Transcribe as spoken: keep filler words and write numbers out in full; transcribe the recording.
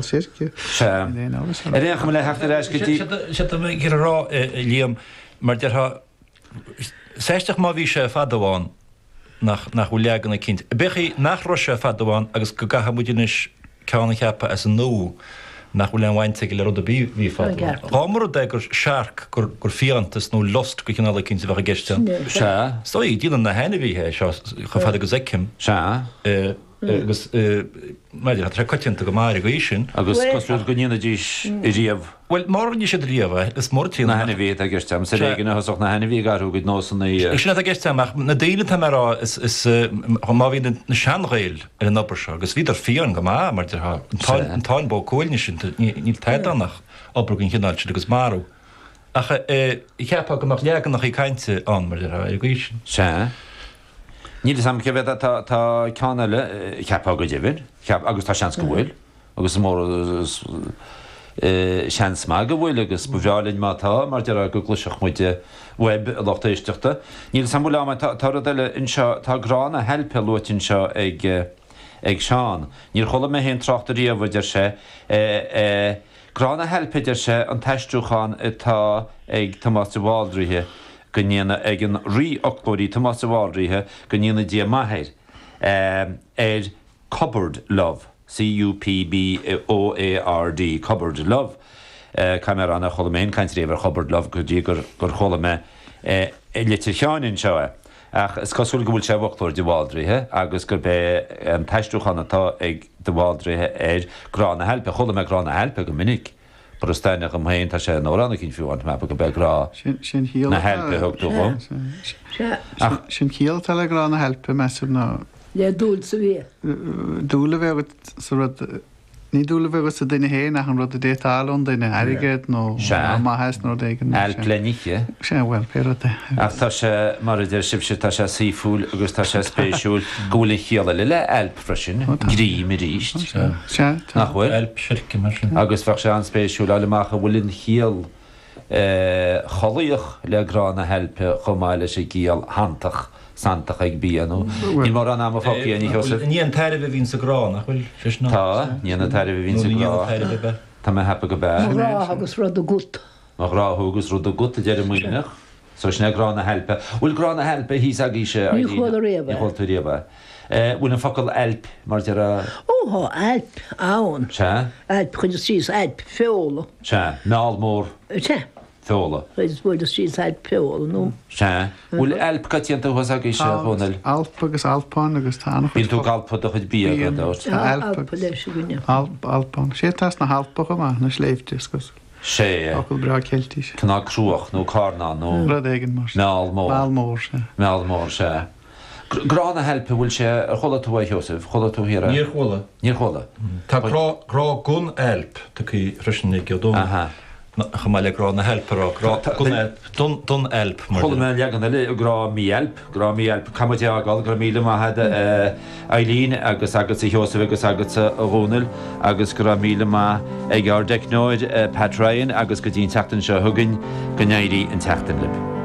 Sirce. Sea. Níl aon amhras Ar aon chuma le theacht ar ais go dtí... Sé tá mé ag iarraidh a rá, Liam, mar déarfá, is aisteach má bhí sé fadó ann nach nach bhfuil leagan eicínt. B'fhéidir nach raibh sé fadó ann agus go gcaithfidh muid anois ceann a cheapadh as an nua nach bhfuil aon bhaint aige le rud ar bith a bhí fadó ann. Dá mba rud é gur searc, gur gur fiántas nó lust de chineál eicínt a bheadh i gceist ann. Sea. Is dóigh, déanann na hainmhithe é seo chomh fada agus a fheicim. Sea. Agus mar tá sé coitianta go maith ar an gcaoi sin. Agus cosúil go ndéanfaidís riamh. Bhuel, má rinne siad riamh é, is mór Na hainmhithe atá i gceist agam, is ar éigean a thosódh na hainmhithe ag athrú a gcuid nósanna. Sin atá i gceist agam, ach na daoine atá mé a rá, is is má bhí na sean-Ghaeil ar an obair seo, agus bhíodar fiáin go maith, mar déarfá, an Táin Bó Cuailgne sin, níl tada ann ach obair den chineál sin agus marú. Ach cheapfá go mbeadh leaganacha cainte ann, mar déarfá, ar an gcaoi sin. Sea. Níl fhios agam cé mhéad tá tá ceann eile, cheapfá go deimhin, cheap, agus tá seans go bhfuil, agus is mór seans maith go bhfuil agus ba bhreá linn má tá, mar déarfá go gcloisfeadh muid uaibh, a lucht éisteachta. Níl fhios agam bhfuil am, tá tá rud eile anseo, tá grá na hailpe luaite anseo ag ag Seán. Níor chuala mé féin trácht ariamh, a deir sé, grá na hailpe, a deir sé, an t-aistriúchán atá ag Tomás de Bhaldraithe, go ndéana, ag an rí-fhoclóirí Tomás de Bhaldraithe, go ndéana Dia maith air, ar cupboard love, C-U-P-B-O-A-R-D, cupboard love. Caithfidh mé a rá nár chuala mé féin caint riamh ar chupboard love go dtí gur chuala mé i litir Sheáin anseo é. Ach is cosúil go bhfuil sé i bhfoclóir de Bhaldraithe agus gurb é an t-aistriúchán atá ag de Bhaldraithe air grá na hailpe. Chuala mé grá na hailpe go minic. But is taitneamh dhom féin, tá sé in amhrán eicínt fiú amháin, tá mé ag ceapadh gurb é grá na hailpe a thug tú dhom. Ach sin ciall atá le grá na hailpe, measaim, ná. Le dúil sa bhia. Dúil a bheith agat sa rud, ní dúil a bheith agat sa duine féin ach an rud a d'fhéadfá a fháil ón duine, airgead nó maitheas nó rud éigin. Ailp le n-ithe. Sea, bhuel, pé rud é. Ach tá sé, mar a deir sibhse, tá sé saoithiúil agus tá sé spéisiúil go bhfuil an chiall eile le ailp freisin, greim arís. Sea, tá. Nach bhfuil? Ailp seirce mar sin. Agus bheadh sé an-spéisiúil fháil amach an bhfuil an chiall chollaíoch le grá na hailpe chomh maith leis an gciall shantach, santach ag bia nó níl mórán ama fágtha againn, a Sheosaimh. Ní an tairbhe a bhíonn sa ghrá, nach bhfuil? Sé sin an. Tá, ní an tairbhe a bhíonn sa Nó ní ghrá. an tairbhe ab ea? Tá mé a cheapadh go b'ea. Mo ghrá agus rud agat. Mo ghrá thú agus rud agat, a deir an Muimhneach. So sin é grá na hailpe. Bhfuil grá na hailpe thíos agaibhse, Ní Eileen? chuala riamh Ní é. chuala tú riamh é. Bhfuil an focal ailp mar deir. Ó tá ailp ann. Sea. Ailp, chuireas síos ailp feola. Sea. Meall mór. Sea. Feola. Chuireas bhuaileas síos ailp feola nó. Sea. Bhfuil ailp coitianta thuas agaibhse, a Dhónaill? Tá alp agus alpán agus tá an-chuid. Bíonn tú ag alpadh do chuid bia gan dabht. Tá alp leis againne. Alp, alpán. Sé atá sna hAlpa chomh maith, na sléibhte, is cosúil. Sea. Focal breá Ceiltise. Cineál cruach nó carnán nó. Rud éigin mar sin. Meall mór. Meall mór, sea. Meall mór, sea. Grá na hailpe, bhfuil sé, ar chuala tú é, a Sheosaimh? Chuala tú thiar é? Níor chuala. Níor chuala. Tá grá, grá gon ailp tugtha freisin ag Ó Dónaill. Aha. Chomh maith le grá na hailpe a rá, grá gon ailp, don, don ailp mar Chuala mé leagan eile, grá mí-ailp, grá mí-ailp. Caithfidh muid é a fhágáil, go raibh míle maith agat, a Eileen, agus agatsa a Sheosaimh agus agatsa a Dhónaill, agus go raibh míle maith ag ár dteicneoir Pat Ryan agus go dtí an tseachtain seo chugainn, go n-éirí an tseachtain libh.